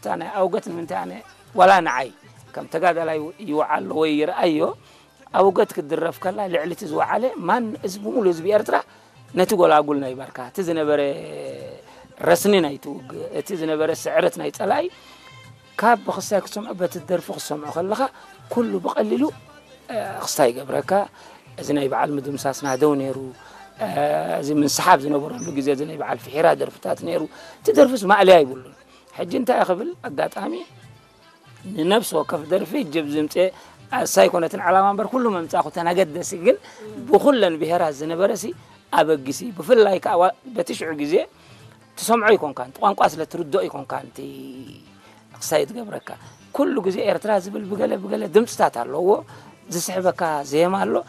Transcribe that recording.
እታ ናይ ኣውገት ንምንታይ ኣነ ዋላ ንዓይ ከም ተጋዳላይ ይውዓሎ ወይ ይርኣዮ፣ ኣውገት ክትድረፍ ከላ ልዕሊ እቲ ዝወዓለ ማን ህዝቢ፣ ሙሉ ህዝቢ ኤርትራ ነቲ ጎላጉል ናይ ባርካ፣ እቲ ዝነበረ ረስኒ ናይቲ ውግእ፣ እቲ ዝነበረ ስዕረት ናይ ጸላኢ ካብ ብኽስታይ ክትሰምዖ፣ በቲ ደርፊ ክትሰምዖ ከለኻ ኩሉ ብቐሊሉ ክስታይ ይገብረካ። እዚ ናይ በዓል ምድምሳስ ናደው ነይሩ። እዚ ምንስሓብ ዝነበረሉ ግዜ እዚ ናይ በዓል ፍሒራ ደርፍታት ነይሩ። እቲ ደርፍስ ማእለያ ይብሉን። ሕጂ እንታይ ክብል ኣጋጣሚ ንነብሲ ወከፍ ደርፊ ጅብ ዝምፅእ ኣሳይ ኮነትን ዓላማ እምበር ኩሉ መምፃእኩ ተናገደሲ ግን ብኩለን ብሄራት ዝነበረሲ ኣበጊሲ ብፍላይ ከዓ በቲ ሽዑ ግዜ ትሰምዖ ይኮንካን ቋንቋ ስለ ትርድኦ ይኮንካን እቲ ክሳይ ትገብረካ ኩሉ ግዜ ኤርትራ ዝብል ብገለ ብገለ ድምፅታት ኣለዎ ዝስሕበካ ዜማ ኣሎ